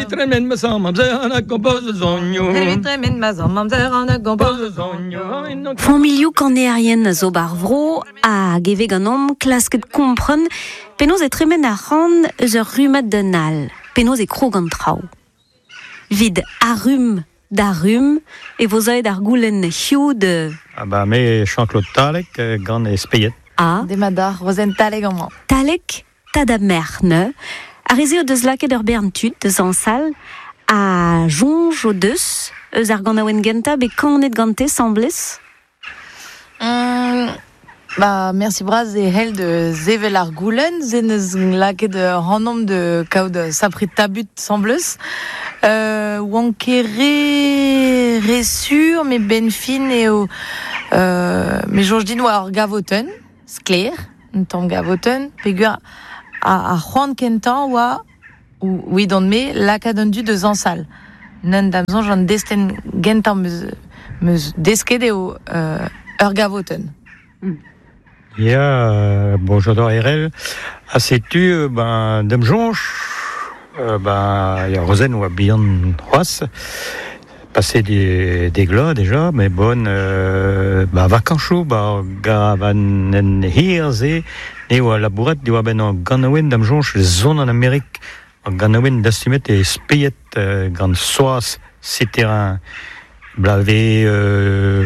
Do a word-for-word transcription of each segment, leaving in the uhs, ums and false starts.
Tremen ma zamm amzer an a gompoz zonioù. Evit tremen ma zamm amzer an a gompoz zonioù. Familhoù kanerien zo bar vro hag eve ganeomp klasket kompren penaos e tremen ar c'han eus ur rummad d'un all, penaos e krog an traoù. Vid ar rumm d'ar rumm e vo zaet ar goulenn hiziv de... Ah ba me Jean-Claude Talek gant e Speiet. Ah. Demat Rozenn Talek amañ. Talek, tad ha merc'h ne. Ar re-se o deus lakaet ur bern tud deus añsal a soñj o deus eus ar ganaouenn gentañ bet kanet gante 'sambles. Mm, ba, merci bras e hell de zevel ar goulenn, ze neus lakaet ur anomp de kaout sapre tabut 'sambles. Euh, oan ket re, re sur, me ben fin eo euh, me soñj din oa ur gavotenn, sklaer, un tamm gavotenn, peogwir a, a c'hoant kentañ oa ou oui me lakaat an dud deus añsal. Neun da'm soñj an destenn gentañ meus, meus desket eo euh, ur gavotenn. Mm. Ya, euh, bonjour Erel. Ha setu, ben, da'm soñj, euh, ben, ya Rozenn oa bihan c'hoazh, passé des, des glas déjà, mais bon, euh, ba vakañsoù, ba garavanenn hir-se, ne oa labourat diwar benn an ganaouenn da'm soñj zon an Amerik, an ganaouenn dastumet e Speiet euh, gant Soaz Cétérin, blave euh,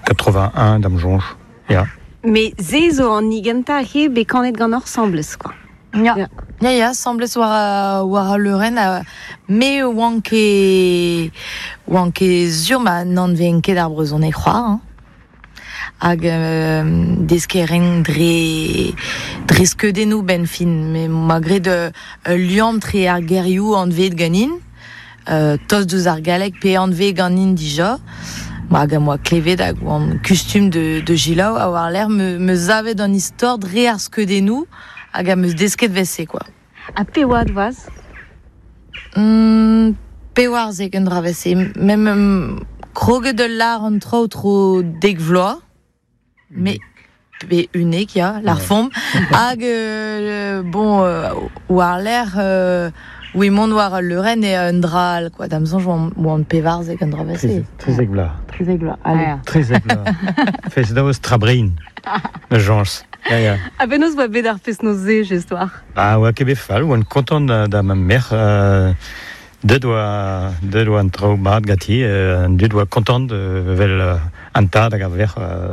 quatre-vingt-un da'm soñj, ya. Mais ze zo an hini gentañ he bet kanet gant 'sambles, quoi. Ya. Ya. Ya, ya, 'sambles war, war al leurenn, euh, me oan ket, oan ket sur ma n'anvezen ket ar brezhoneg c'hoazh, hein. Hag euh, desket dre, dre skeudennoù ben fin, me ma graet euh, ul liamm tre ar gerioù anveet ganin, euh, tost deus ar galleg pe anveet ganin dija. Ma hag am boa klevet hag oan kustum de, de selaou a war lerc'h me, me zavet an istor dre ar skeudennoù hag am eus desket 'vel-se, quoi. Ha pe oad oas? Mm, pevarzek un dra 'vel-se. Mem um, kroget ul lar an traoù tro dek vloaz, me pe unnek, ya, lar fomp. Hag, euh, bon, euh, war lerc'h, euh, oui, mont war al leurenn e un dra all, quoi. Da'm soñj oan, oan pevarzek un dra 'vel-se. Trizek vloaz. Trizek vloaz, allez. Ah, ya. Trizek vloaz. Fest-noz Trabrin, ma soñj. Ya, ya. Ha penaos oa bet ar fest-noz-se, just war? Ba, oa ket bet fall, oan kontant da, da ma merc'h, euh, deut oa, deut oa an traoù mat ganti, euh, an dud oa kontant euh, vel euh, an tad hag ar verc'h euh,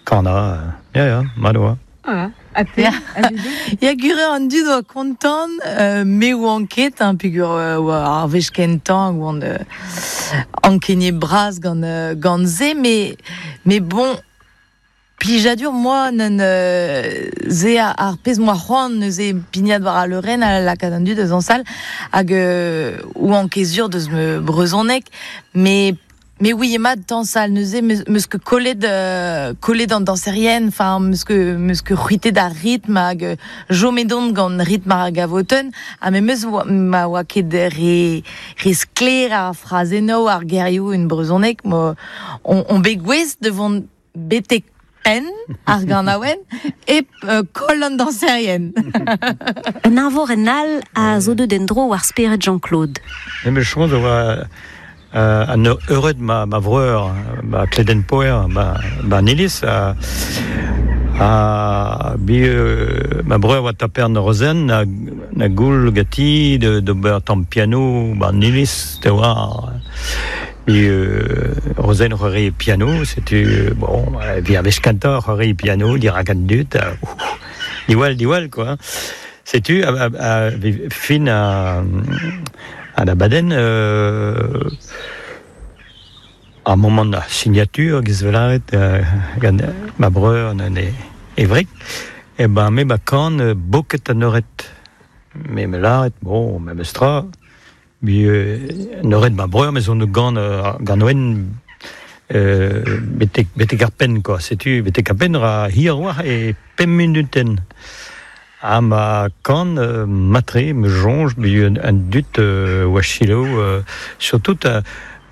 kanañ, euh, ya, ya, mat oa. Ah, ha te? Ya. Ya gure an dud oa kontant, euh, me oan ket, hein, peogwir euh, oa ar wech kentañ oan euh, ankeniet bras gant, euh, gant se, mais, mais bon, plijadur moi neun euh, ze ar, ar pezh moa c'hoant neuze pignat war al leurenn a lakaat an dud eus añsal hag euh, oan ket sur deus me brezhoneg, mais mais oui ema dañsal neuze meus, meus ket kollet euh, kollet an dañserien, enfin meus ket meus ket c'hwitet ar ritm hag euh, chomet on gant ritm ar gavotenn, ha me meus oa, ma oa ket re, re sklaer ar frazennoù ar gerioù en brezhoneg, mo on, on bet gouest de vont betek penn ar ganaouenn hep euh, koll an dañserien. Un eñvorenn all a zo deut en-dro war spered Jean-Claude. Me meus soñj oa euh, an eured ma, ma vreur, ma Kledenpoer, ma, ma iliz, a, a bi euh, ma breur oa taper an Rozenn na, na goul ganti de, d'ober tamm piano ba an iliz, te oa bi euh, Rozenn c'hoari piano, setu, bon, vi ar wech kentañ c'hoari piano, dirak an dud, euh, diwall, diwall, quoi. Setu, a, a, a, fin a, a da baden, euh, ar moment da signature, giz velaret, euh, gant ma breur an e, e wreg, e ben me ba kan euh, boket an eured. Me me laret, bon, me mestra, bi euh, an eured ma breur, me zo gant, euh, gant oen, euh, betek, betek ar penn, quoi. Setu, betek ar penn ra hir oa e pemp minuten. Ha ma kan euh, matre, me soñj, bi un, un dud euh, oa selaou, euh, surtout euh,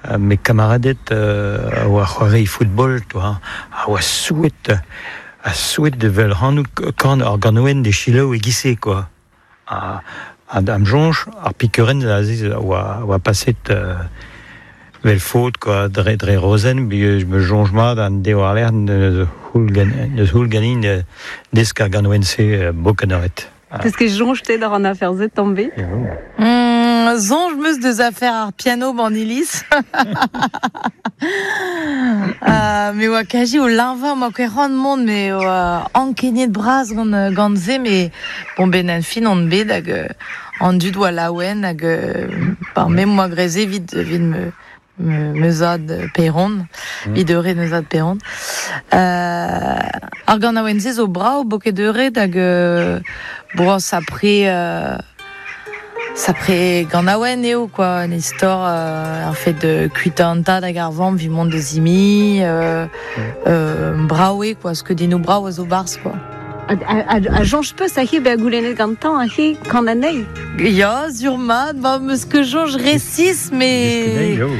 euh, mes kamaradet euh, a oa c'hoari football, toi, a oa souet, a souet de vel hanout kan ar ganouen de selaou e gise, quoi. A, Am soñj, ar pikurenn aze oa, oa paset euh, vel faot, quoi, dre, dre rozen, bi me soñj mat an deo ar lec'h neus houl gan, neus houl ganin euh, desk ar ganouen-se euh, bok an eured. Peus ket soñj te d'ar an afer-se tamm ebet? Mm, soñj 'meus deus afer ar piano ban iliz. euh, me oa kaji o leñvañ, 'moa ket c'hoant mont, me oa ankeniet bras gant, gant se, met bon ben an fin on bet hag euh, an dud oa laouen hag euh, par me 'moa graet se evit, evit me, me, me zad paeron, evit eured me zad paeron. Euh, ar ganaouenn-se zo brav boked eured hag euh, bon, sapre euh, sapre ganaouenn eo quoi, un istor euh, ar fait de kuitaat an tad hag ar vamm evit mont da zimi, euh, euh, brav eo quoi, skeudennoù brav a zo 'barzh quoi. A, a, a, a soñj 'peus aze bezañ goulennet gantañ aze kan anezhi? Ya, sur mat, ba 'meus ket soñj resis, mais...